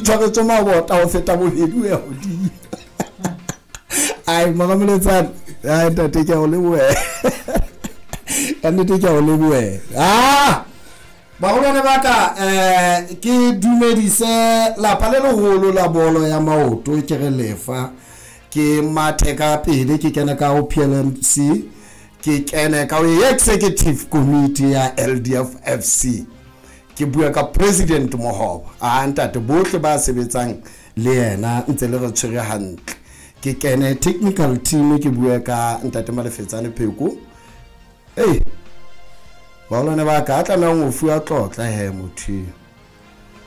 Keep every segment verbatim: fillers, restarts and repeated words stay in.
tshwaretswe mabota ho feta bobedi ho ya hodimo. Ai Moramoletsane, ai ntate ke a o leboha. Ka nnete ke a o leboha. Ah! Baholwane ba ka, eh ke dumedise lapa le leholo la bolo ya maoto ke re lefa. Ke mathe ka pele ke kene ka ho P L M C, ke kene ka ho Executive Committee ya L D F F C. Ke bua ka President Mohoba. A ntate bohle ba sebetsang le yena ntse le re tshwere hantle. Ke kene technical team ke bua ka ntate Malefetsane Pheko. Hey, baholwane ba ka, a tlamehang ho fuwa tlotla he motho eo.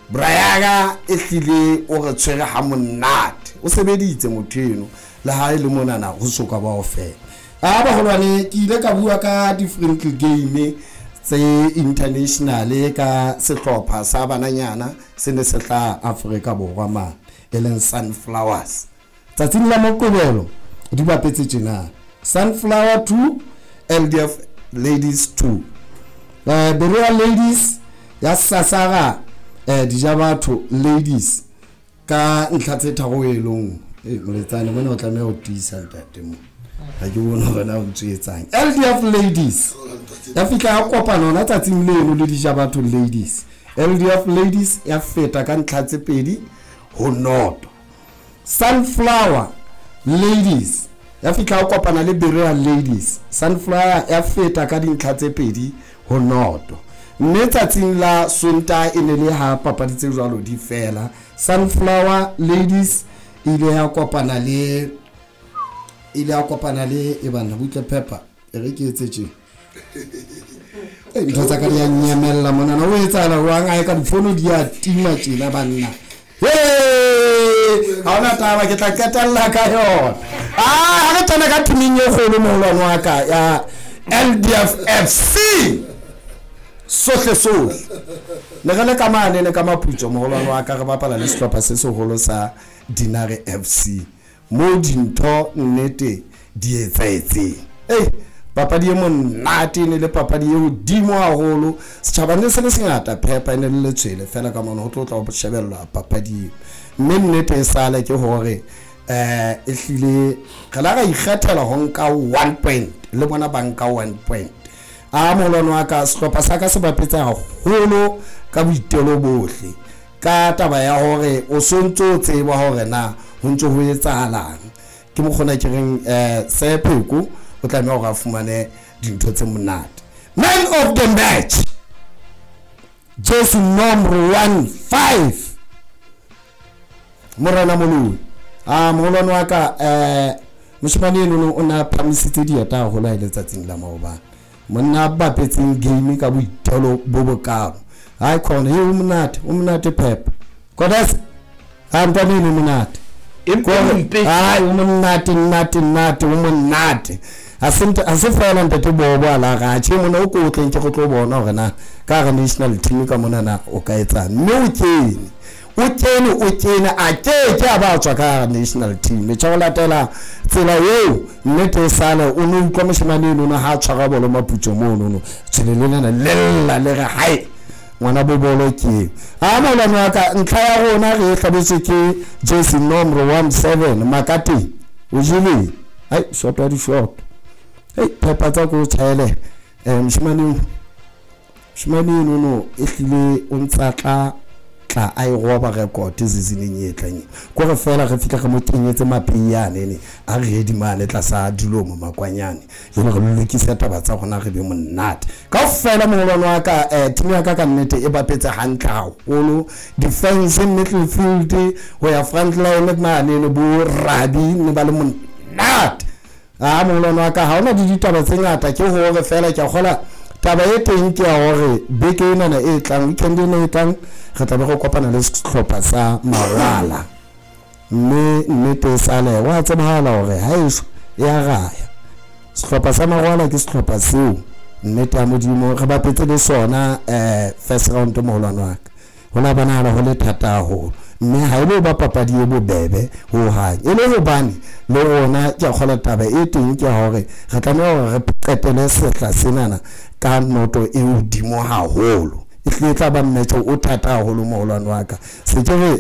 Brayaga e hlile o re tshwere ha monate. O sebeditse motho eno le ha e le monana ho soka ba o fela. A baholwane ke ile ka bua ka different game tse international ka sehlopha sa bananyana se ne se tla Afrika Borwa ma e leng Sunflowers. Tsatsing la Moqebelo di bapetse tjena Sunflower two, L D F Ladies two. Eh, Berea Ladies ya Sasara, eh, Dijabatho Ladies ka ntlha tse tharo e leng. Eh, moletsane mona o tlameha ho tiisa ntate mo. Ha ke bone hore na o ntso etsang. L D F Ladies ya fihla ya kopana hona tsatsing leno le Dijabatho Ladies. L D F Ladies ya feta ka ntlha tse pedi ho noto. Sunflower Ladies ya fihla ya kopana le Berea Ladies. Sunflower ya feta ka dintlha tse pedi ho noto. Mme tsatsing la Sontaha e ne le ha papadi tse jwalo di fela. Sunflower Ladies e ile ya kopana le, ile ya kopana le e bana butle pepper e re ke etse tje. Eh, ntho tsa ka di a nyamella monana o etsahala jwang? A e ka difono di a tima tjena banna. Hey! Ha hona taba, ke tla qetella ka yona. Ah, ha re tsena ka teaming e kgolo moholwane wa ka ya L D F F C. Sohle sohle. Ne re le ka mane le ka Maputso moholwane wa ka re bapala le sehlopha se seholo sa Dinare F C. Mo dintho nnete di etsahetseng. Ei, papadi e monate ne le papadi e hodimo haholo. Setjhaba ne se le sengata, phepa e ne le letshwele fela ka mona ho tlo tla ho shebella papadi eo. Mme nnete e sale ke hore, eh, e hlile re la ra ikgethela ho nka one point le bona ba nka one point. A moholwane wa ka, sehlopha sa ka se bapetse haholo ka boitelo bohle. Ka taba ya hore o sontso o tseba hore na ho ntso ho etsahalang. Ke mokgona ke reng, eh, Sepheko o tlameha hore a fumane dintho tse monate. Man of the match, jersey number one five, Morena Moloi. Ah, moholwane wa ka, eh, moshemane eno o na phamisitse dieta haholo ha e le tsatsing la maobane. Monna a bapetseng game ka boitelo bo bokalo. Hai khona, he o monate, o monate Pep. Kodas, ha ntwana eno o monate. Empa o mpe. Hai, o monate, nate, nate, o monate. Ha se nte, ha se feela ntate Bobo a la ra, tjhe, mona o ko o tleng ke go tlo bona hore na ka hara national team ka mona na o ka etsang. Mme o kene, o kene, o kene, a ke ke a ba tswa ka hara national team. Tjhe, ho latela tsela eo nnete e sale o no utlwa moshemane eno ha a tshwara bolo Maputso mono no. Tshwele le lena le lla le re hai ngwana bo bolo ke eo. A molwane wa ka, ntlha ya rona re e hlabetswe ke jersey number one seven Makate. O jele. Hai, short wa di short. Hei, phepa tsa ko tjhaele. Eh, moshemane eno, moshemane eno no e hlile o ntsa tla tla a e roba record seasoneng e tlang. Ko re fela re fihla re mo kenyetse mapeyane ne a re ready mane tlasa dilomo makwanyane. Jwale re lokise taba tsa rona re be monate. Kaofela moholwane wa ka, eh, team ya ka ka nnete e bapetse hantle haholo. Defense, midfield ho ya front line mane ne bo Rabi ne ba le monate. Ah, moholwane wa ka ha hona di ditaba tse ngata, ke hore fela ke a kgola taba e teng ke ya hore beke enana e tlang, weekend ena e tlang, re tla be re kopana le sehlopha sa Mawala. Mme nnete e sale wa tsebahala hore ha eso e a raya. Sehlopha sa Mawala ke sehlopha seo nnete ya Modimo re bapetse le sona, eh, first round moholwane wa ka. Ho la bonahala ho le thata haholo. Mme ha e le ba papadi e bobebe ho hang. E le hobane le rona ke a kgola taba e teng ke hore re tlameha hore re qetele sehla senana ka noto e hodimo haholo. E hlile e tla ba mmetso o thata haholo moholwane wa ka. Se ke re